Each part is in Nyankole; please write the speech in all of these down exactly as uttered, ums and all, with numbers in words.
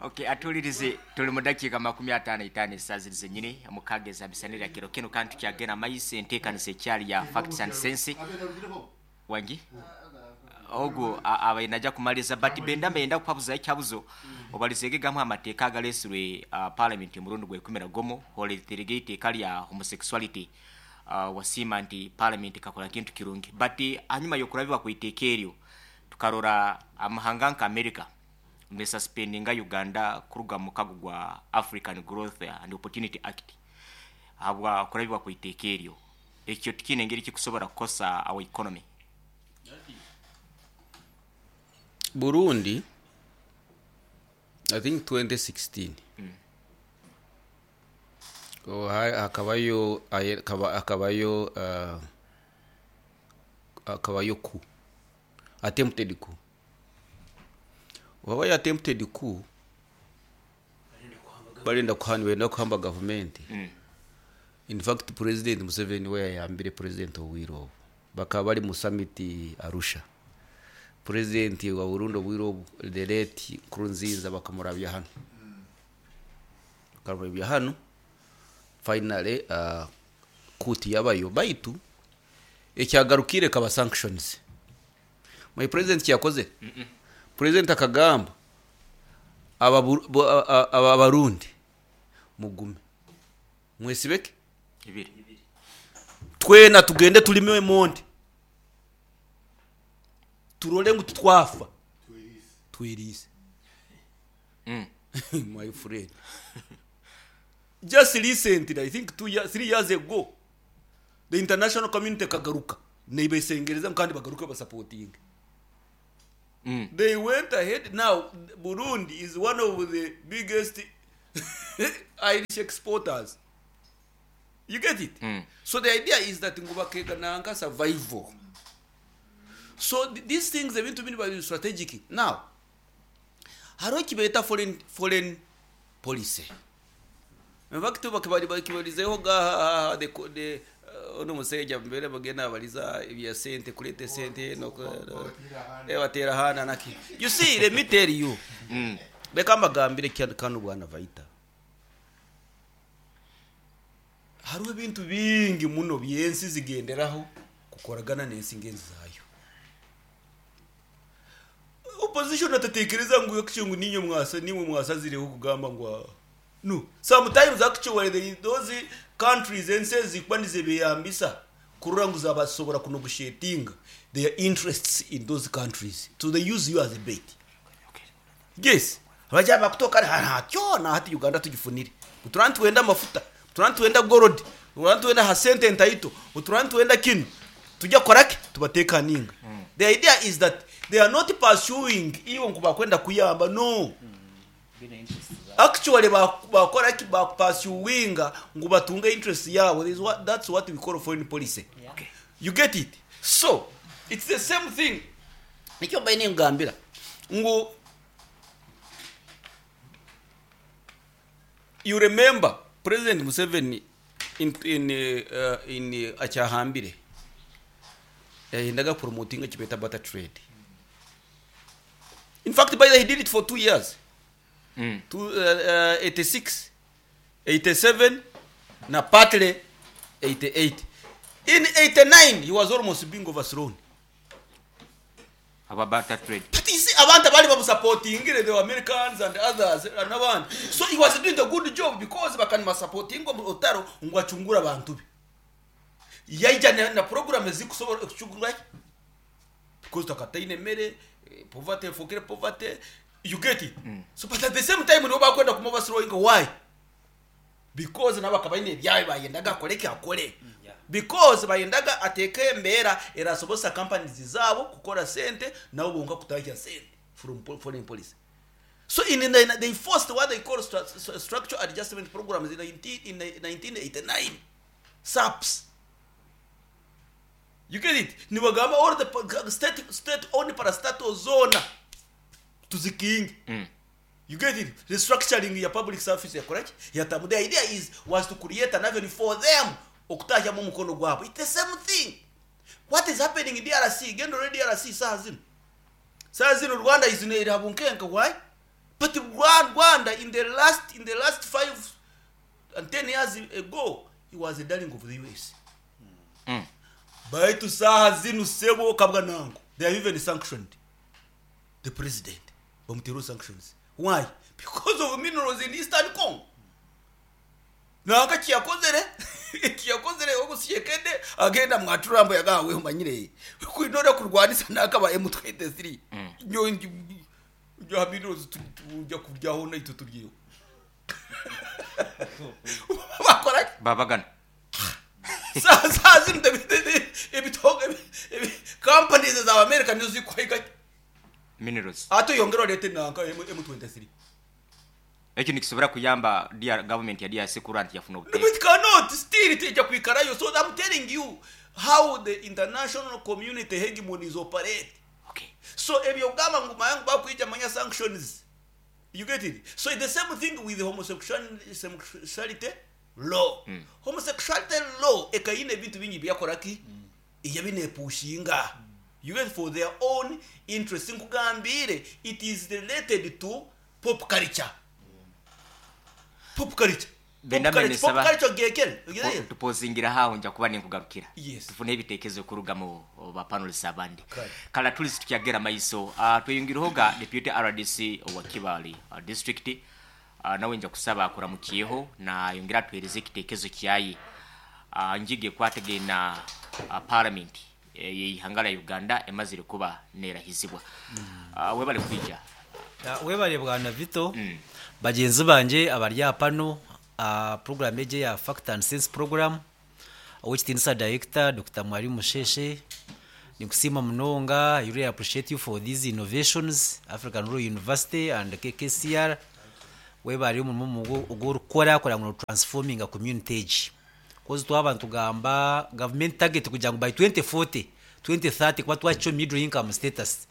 Okay, atuulirize, tuli mu dakiika makumi ataano itaano esaawa ziri zenyini mukaaga ezamisanira kiro kino, kandi tukyagenda maiso enteekanisa ekyali ya Facts and Sense. Wangi ogwo abaye najja kumaliza, but benda mbenda kuhabuza ekyabuzo obalizege gamu amateeka agalesirwe uh, parliament omurundi gwekumi na gumu holeterege iteeka lya homosexuality. uh, wasiima nti parliament kakola kintu kirungi, but hanyuma yokurabibwa ku iteeka eryo tukarora amahanga nka America nesuspendinga Uganda kuruga mu mukago gwa African Growth and Opportunity Act habwa kurabibwa ku iteeka eryo. Ekyo tikiine engeri kikusobora kukosa our economy. Burundi, I think twenty sixteen, Mm. Oh, ha- hakabayo aye- kaba- hakabayo uh, hakabayo coup, attempted coup. Wabayo attempted coup, barenda kuhana, benda kuhamba government. Mm. In fact, President Museveni we yayambire President Owiro, bakaba bari mu summit Arusha. President wa Burundi Owiro, the late Nkurunziza, bakamurabya hano, bakamurabya hano. Finally uh, kuti yabayo, baitu ekyagarukire kaba sanctions. My president cyakoze, Mm -mm. President akagamba aba aba Barundi mugume mwesibeke ibiri, twena tugende tulime monde turole ngu tutwafa twirize. Mm. My friend, just recently, I think two years, three years ago, the international community kagaruka neibesengereza kandi bagaruka basupporting. Mm. They went ahead. Now Burundi is one of the biggest Irish exporters. You get it? Mm. So the idea is that ngubakega nanga survival. So th these things they need to be strategic. Now, hariho kibeta foreign foreign policy. In fact, bakibali bakibalizeho ga the the ono musajja mbere bagenda baliza ebya sente kulete sente no eh batera hana naki. You see, let me tell you. Mm. Reka mbagambire kano bwana Vaita. Hariho ebintu bingi muno byensi zigenderaho kukoragana n'ensi ngenzi zayo. Opposition atatekereza ngu yakicungu ninyo mwasa nimwe mwasazireho kugamba ngu no. Sometimes actually the, those countries ensi zikwandize beyambisa kurura ngu zabasobora kunegotiatinga their interests in those countries, so they use you as a bait. Okay. Yes, abajya bakutoka hatyo na hati Uganda tugifunire uturantu wenda mafuta, uturantu wenda gold, uturantu wenda hasente ntaito, uturantu wenda kino tujya korake tubateka ninga. Mm. The idea is that they are not pursuing iyo nkuba kwenda kuyamba, no. Mm. Actually bakora ki ba pursuinga ngu batunga interest yabo. This is what, that's what we call foreign policy. Yeah. Okay. You get it? So it's the same thing. Nikyo baine ngambira ngu you remember President Museveni in in uh, in uh, acyahambire yahendaga promoting kibeta barter trade. In fact, by the he did it for two years. Mm. Two, uh, uh, eighty-six, eighty-seven, na partly eighty-eight. In eighty-nine, he was almost being overthrown. About barter trade. But you see, abantu bali bamusupporting, the Americans and others and abantu. So he was doing a good job because bakani supporting otaro ngo achungura abantu be. Yaija na, na program zikusobora kuchungura because takataine mere poverty, forget poverty. You get it? Mm. So but at the same time nibo bakwenda kumuoverthrowing. Why? Because nabo akabaine byawe bayendaga akoreke akore. Yeah. Because bayendaga ateke embera erasobosa companies zabo kukora sente nabo bonka kutahya sente from foreign policy. So in the, they forced what they call stru structural adjustment programs in nineteen, in nineteen eighty-nine. S A Ps. You get it? Nibagamba all the state state owned parastatal zone tuzikingi. Mm. You get it? Restructuring ya public service ya correct? Ya tamu. The idea is was to create an avenue for them okutahya mu mukono gwabo. It's the same thing. What is happening in D R C? Gendo D R C saa zino. Saa zino Rwanda is in Habunkenka. Why? But Rwanda in the last in the last five and ten years ago, he was a darling of the U S. Mm. Baitu saha zinu, sebo kabwa nango, they have even sanctioned the president. Bamutero sanctions. Why? Because of minerals in Eastern Congo. Nanga kiyakozere kiyakozere ogusyekede agenda mwaturambo yagawe umanyire kwinora kurwanisa nakaba M twenty-three nyongi bya minerals tujya kuryaho naito turyeho bakora. Babagana. Saa saa zino ebitoga companies za America nizo zikwiga minerals. Ate yongera olete nanka M twenty-three. Ekyo nikisobora kuyamba D R, government ya D R C kurora nti yafuna No, obuteeka. it cannot still tejja kwikarayo. So I'm telling you how the international community hegemonies operate. Okay so ebyo gamba ngu mayangu bakwija manya sanctions, you get it? So it's the same thing with homosexuality homosexuality law mm. Homosexuality law ekayina ebintu bingi byakoraki mm. Eyabinepushinga, you get, for their own interest. Nkugambire, it is related to pop culture, pop culture. Benda Pop culture, pop mene saba- culture gekere. Tupozingira haho, nja kuba ninkugarukira Yes. tufune ebitekerezo kuruga mu ba panelists abandi. Kale. Kala tulisi tukyagera maiso, uh, tweyongireho deputy R D C owa Kibali uh, district, uh, nawe nja kusaba akuramukiyeho nayongera atuhereze ekitekerezo kyaye uh, njige kwategena uh, parliament eh, yeihanga lya Uganda emazire kuba nerahizibwa. uh, webale kwija. Ya, webale bwana Vito, bagenzi banje abari pano uh, program eje ya Fact and Sense program, owekitinisa director Doctor Mwalimu Musheshe, nikusima munonga. I really appreciate you for these innovations, African Rural University and K K C R. Webale omurimo ogworikukora kugira ngu transforming a community egi, cause twaba nitugamba government target kugira ngu by twenty forty, twenty thirty kuba twakikyo middle income status,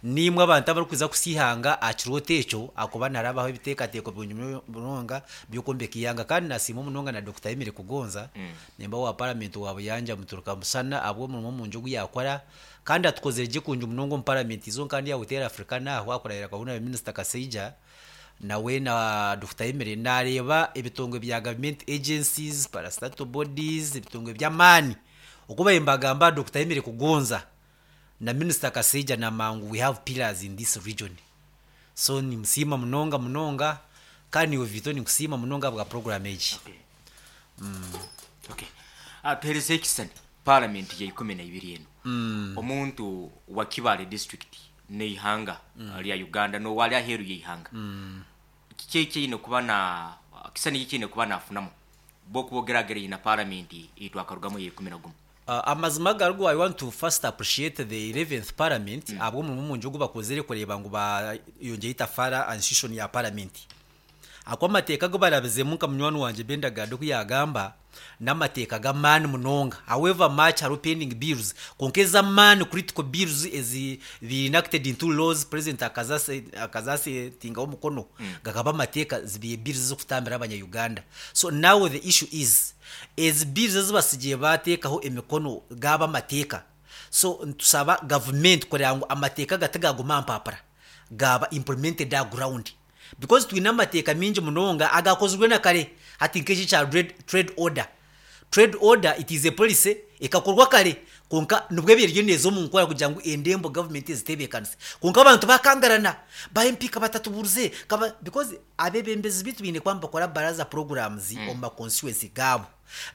nimwe abantu abarikuza kusihanga aha kirooto ekyo akuba narabaho ebiteekateeko birungi munonga by'okwombeka ihanga. Kandi nasiima munonga na Doctor Emily Kugonza mm. Nemba wa parliament wa Buyanja Muturuka Musana abw'omurimo omungi ogu yakora kandi atukozere gye kungi munonga omu parliament izo kandi yawutera Africa naho akurahira kabona Minister Kaseija nawe na Doctor Emily nareeba ebitongwe bya government agencies, parastatal bodies, ebitongwe by'amaani okuba mbagamba Doctor Emily Kugonza na Minister Kaseija na Mangu, we have pillars in this region. So nimusiima munonga munonga kandi niwe Vito, nikusiima munonga bwa program egi. Okay, uh, tuhereze ekisani parliament ya ikumi na ibiri eno mm. Omuntu wa Kibale district neihanga mm. lya Uganda nowali aheru yeihanga mm. kiki ekiine kuba na kisani kikiine kuba nafunamu bokubogeragere na parliament itwakarugamu ya ikumi na gumu? Uh, amazima garugu, I want to first appreciate the eleventh parliament mm. abwo omurumo mungi ogu bakozere kureba ngu bayongeye itafara institution ya parliament ako amateeka go barabizemu nka munywani wanje Bendagado kuyagamba n'amateeka g'amaani munonga. However much hariho pending bills, konka ez'amaani, critical bills ezi be enacted into laws, president akazasetingaho omukono mm. gakaba amateeka, zibiye bills z'okutambira abanya-Uganda. So now the issue is ezi bills ezibasigiye bateekaho emikono gaba amateeka. So ntusaba government kureba ngu amateeka gatigaguma mpapara, gaba implemented a ground, because twine amateeka mingi munonga agakozirwe na kare. Hati nk'eki kya trade, trade order trade order it is a policy ekakorwa kare, konka nibwo ebiryo neeza omu nkora kugira ngu endembo government ezitebeekanise, konka abantu bakangarana ba M P kabatatubuurize kaba, because abebembezi bitu biine kuba nibakora baraza programs mm. omu ma constituency gaabo,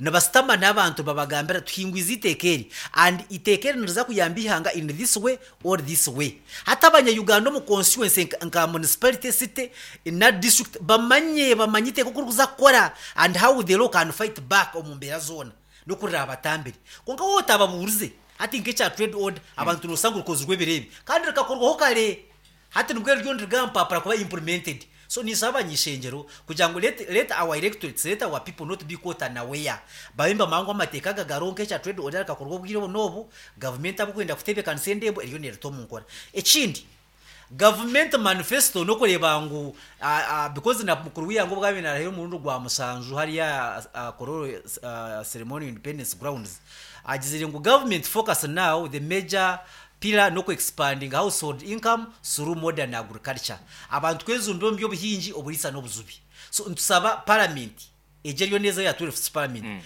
nibasitama n'abantu babagambira tuhingwize iteeka eri and iteeka eri niriza kuyamba ihanga in this way or this way. Hati abanya-Uganda omu constituency nka, nka municipality, city na district bamanye bamanye iteeka oku rikuza kukora and how the law can fight back omu mbeera zoona n'okurira abatambire. Konka wowe otababuurize, hati nk'ekya trade order, abantu nosanga rukozirwe ebireebi kandi rikakorwaho kare, hati nibwo ryo nirigampapura kuba implemented. So nisaba abanyishengero kugira ngu let, let our electorates, let our people not be caught unaware, babe bamangu amateeka aga garonka ekya trade order rikakorwa obwire obu n'obu government abukwenda kutebeekanisa endembo eriyo nerita omu nkora. Ekindi, government manifesto nokureba ngu uh, uh, because na mukuru wiyango bwabe narahira omurundi gwa musanju hariya uh, Kololo uh, ceremonial independence grounds, agizire ngu government focus now, the major Pillar no expanding household income through modern agriculture, abantu kwezumba omu by'obuhingi, oburiisa n'obujubi. So ntusaba parliament egyo eriyo neza ya twelfth parliament mm.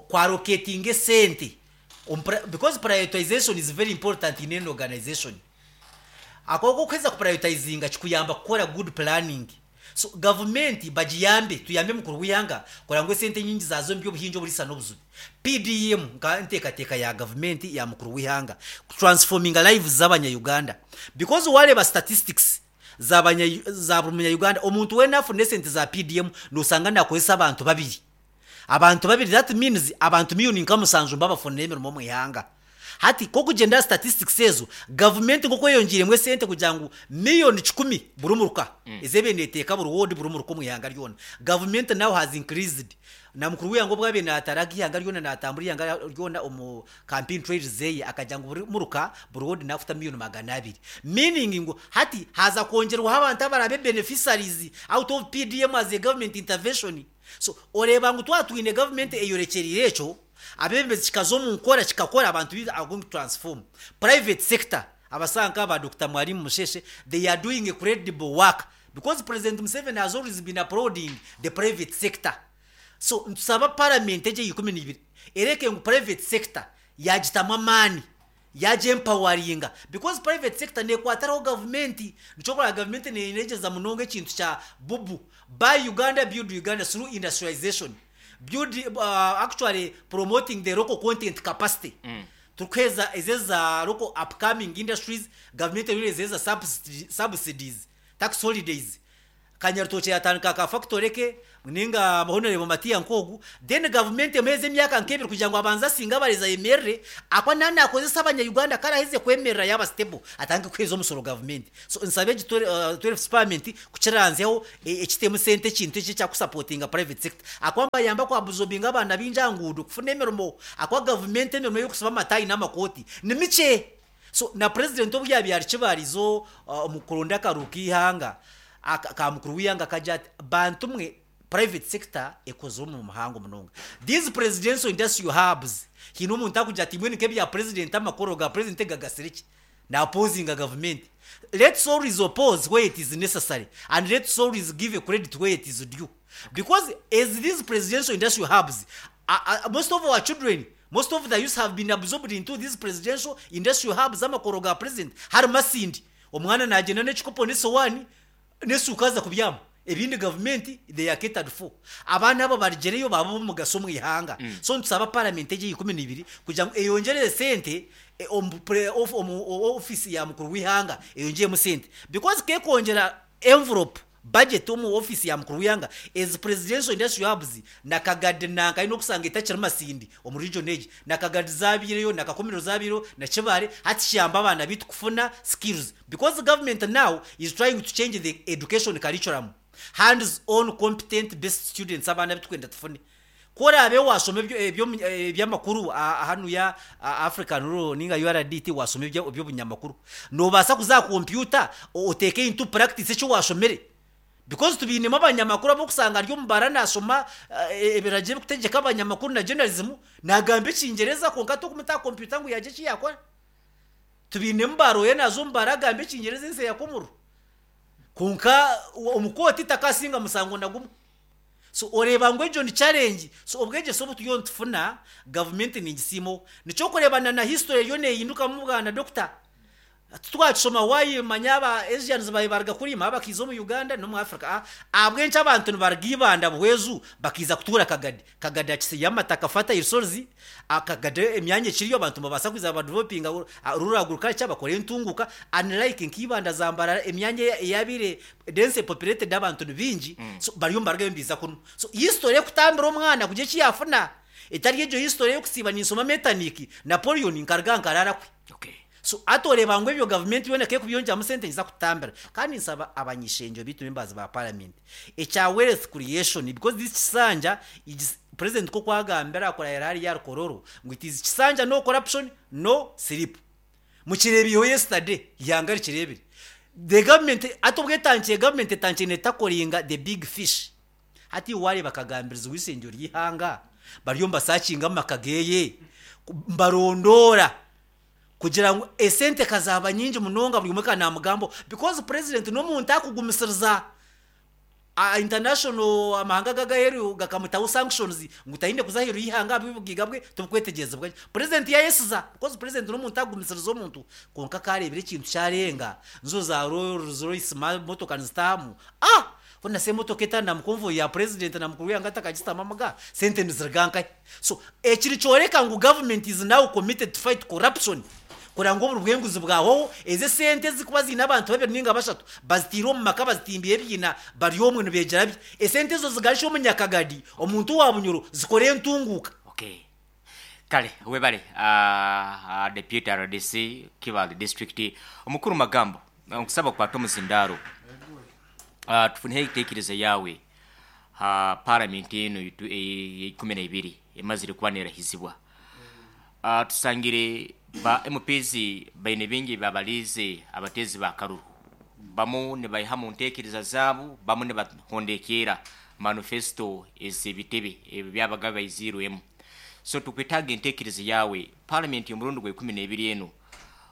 kwallocatinga esente omu pri- because prioritization is very important in any organization. Akoko kuheza kuprioritizinga kikuyamba kukora good planning. So gavumenti bagiyambe, tuyambe mukuru w'ihanga kugira ngu esente nyingi zazo mu by'obuhingi, oburiisa n'obujubi. P D M nka nteekateeka ya gavumenti ya mukuru w'ihanga transforminga lives z'abanya-Uganda, because wareba statistics z'abanya- za buri munya-Uganda, omuntu weena afuna esente za P D M nosanga nakozesa abantu babiri, abantu babiri. That means abantu miliyoni nka musanju mbabafunira emirimo omu ihanga. Hati kokugyenda statistics ezo, gavumenti nk'oku eyongiiremu esente kugira ngu miliyoni kikumi buri muruka mm. ezebe neteeka buri ward, buri muruka omu ihanga ryona, gavumenti now has increased. Na mukuru w'ihanga obwabe nataraga ihanga ryona, natambura ihanga ryona omu campaign trails zeye, akagira ngu buri muruka, buri ward nafuta miliyoni magana abiri, meaning ngu hati haza kongerwaho abantu abarabe beneficiaries out of P D M as a government intervention. So oreba ngu twatwine gavumenti eyorekyerire ekyo, abebembezi kikaza omu nkora, kikakora, abantu bi- are going to transform. Private sector, abasanka ba Doctor Mwalimu Musheshe, they are doing incredible work, because President Museveni has always been applauding the private sector. So ntusaba parliament egye ikumi n'ibiri ereke ngu private sector yagitamu amaani, yaja empoweringa, because private sector nekwataraho gavumenti. Nikyo kurora gavumenti nenegyeza munonga ekintu kya bubu, buy Uganda, build Uganda through industrialization, build uh, actually promoting the local content capacity mm. Tukweza ezeza local upcoming industries, government eriyo ezeza subsidy- subsidies, tax holidays. Kanyarutoki yatandika ka factory ke ninga Honorable Matiya nkogu, then government emeze emyaka nkebiri kugira ngo abanze asinga abareza yemerere akwa nani akozesa abanya-Uganda karaheze kwemerera yaba stable, atange kweza omusoro government. So nsabe egi twelfth parliament kukiranzeho ekitemu sente, ekintu eki ekyakusupportinga private sector, akwamba yamba kwa absorbinga abaana b'injangudo kufuna emirimo, akwa government emirimo y'okusiba amatayi n'amakoti ni mikye. So na president obu yabyara kibarizo uh, omu kuronda akaruhu k'ihanga aka- ka mukuru w'ihanga, kagira ati bantu mwe, private sector ekoze omu muhango munonga. These presidential industrial hubs, hine omuntu akugira ati mbwenu nk'ebya president, amakoro ga president gagasire ki na opposing a government? Let's always oppose where it is necessary, and let's always give a credit where it is due, because as these presidential industrial hubs, uh, uh, most of our children, most of the youth have been absorbed into these presidential industrial hubs. Amakoro ga president hari Masindi, omwana nagenda n'ekikopo n'esowani n'esuuka aza kubyama, ebindi gavumenti they are catered for. Abaana abo barigereyo baba b'omugaso omu ihanga. So ntusaba parliament egye ikumi n'ibiri kugira ngu eyongerere sente e, omu pre- of- omu o- office ya mukuru w'ihanga, eyongeremu sente, because kekwongyera envelope budget omu office ya mukuru w'ihanga, ezi presidential industrial hubs nakagadi nanka ayine okusanga etakiri Masindi omu region egi, nakagadi zabireyo, nakakomero zabireyo, nakibare. Hati kiyamba abaana bitu kufuna skills, because the government now is trying to change the education curriculum, hands on competent best students. Abaana bitukwenda tufune korabe wasoma ebyo- ebyo- ebyamakuru a- hanu ya a- African Rural ninga U R D T, wasoma ebyo- eby'obunyamakuru, nobaasa kuza computer oteeke into practice ekyo washomere, because tubinemu abanyamakuru abokusanga ari omubara nasoma eh, ebiragiro ebikutegeka abanyamakuru na journalism, nagamba ekingereza konka tokumuta computer ngu yagye eki yakora. Tubinemu baroye naza omubara agamba ekingereza ensi yakomuru, konka omukooti takasinga musango na gumwe. So oreba ngu egyo ni challenge. So obwegyese obu turiyo nitufuna, gavumenti ningisiimo nikyo kurebana na history eriyo neeyindukamu. Bwana doctor, twakishoma wayimanya aba Asians bayi baruga kurima bakiza omu Uganda n'omu Africa. Ah, ahabw'enki abantu nibaruga Ibanda, Buhwezu, bakiza kutuura Kagadi? Kagadi akisiyo amataka, fertile soils. Akagadi emyanya ekiriyo, abantu nibabaasa kwiza badevelopinga rural agriculture, bakore entunguka, unlike nk'Ibanda, Zambarara, emyanya eyabire dense populated, abantu ni bingi. So bariyo nibarugayo nibiza kunu. So history ekutambira omwana kugira eki yafuna etari egyo history y'okusiiba ninsoma Metternich, Napoleon, nkaruga nkarara kwe. Okay so atoreba ngu ebyo gavumenti yona kekubyongyeramu sente nyiza kutambira. Kandi nsaba abanyishenjo bitu, members ba parliament, ekya wealth creation, because this kisanja is- president ko kwagambira akorera hariya yarukororo ngu it is kisanja no corruption, no sleep. Mukirebiho yesterday, ihanga rikirebire. The government ati obwetankiye, government etankiye netakoringa the big fish. Hati ware bakagambiriza uwisengero ry'ihanga bariyo mbasakinga amaka geye, mbarondora. Kugira ngu esente kazaba nyingi munonga buri umwe kanamugambo, because president n'omuntu akugumisiriza. A international amahanga gagaheru gakamutaho sanctions ngu tayinde kuza aheru y'ihanga bibugiga bwe tubukwetegereza president yayesiza, because president n'omuntu agumisiriza omuntu. Konka karebera ekintu kyarenga nzo za Rolls Royce motoka nizitamu, ah funa se motoka etana mu convoy ya president na mukuru yanga atakagitama amaga sente niziriganka. So ekiri kyoreka ngu government is now committed to fight corruption, kugira ngu oburi bwenguzi bwaho eze sente zikuba ziine abantu babiri ninga bashatu bazitiire omu maka, bazitimbiye ebiina, bari omwe nibeegyera bye, esente ezo zigarisha omunyakagadi omuntu wa Bunyoro zikore entunguuka. Okay, kale webale, uh, uh, deputy R D C Kibaale District, omukuru Magambo, nkusaba kukwata omuzindaaro, uh, tufuneho ekiteekerezo yawe ha parliament eno ikumi na ibiri emazire kuba nerahizibwa. uh, tusangire ba M Ps baine bingi babalize abatezi ba karuru, bamu nibaiha mu ntekereza zaabo, bamu nibahondekera manifesto ez'ebitebe ebyo byabaga baizirwemu. So tukwetaaga entekereza yawe, parliament omurundi gwa ikumi n'ebiri eno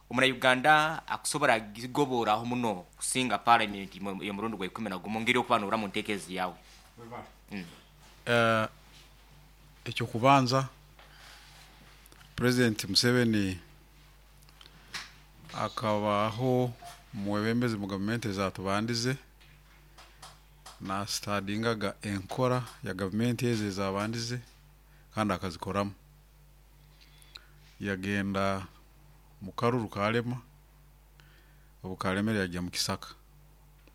omunauganda akusobola gigoboraho muno kusinga parliament y'omurundi gwa ikumi na gumu, ngeri okuba noora mu ntekereza yawe. Eh, ekyokubanza President Museveni akabaho mwebembezi mu gavumenti ezatubandize, nasitadingaga enkora ya gavumenti ezo ezabandize kandi akazikoramu. Yagenda mu karuru kalema, obu kalemere yajya mu kisaka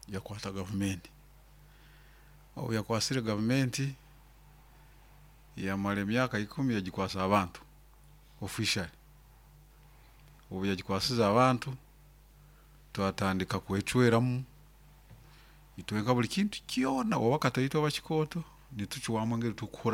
yakwata gavumenti. Obu yakwasire gavumenti yamara emyaka ikumi, yagikwasa abantu officially. Obu yagikwasize abantu, twatandika kwecweramu itwenka buli kintu kyona, oba kataito oba kikooto, nitucwamu engeri tukukora.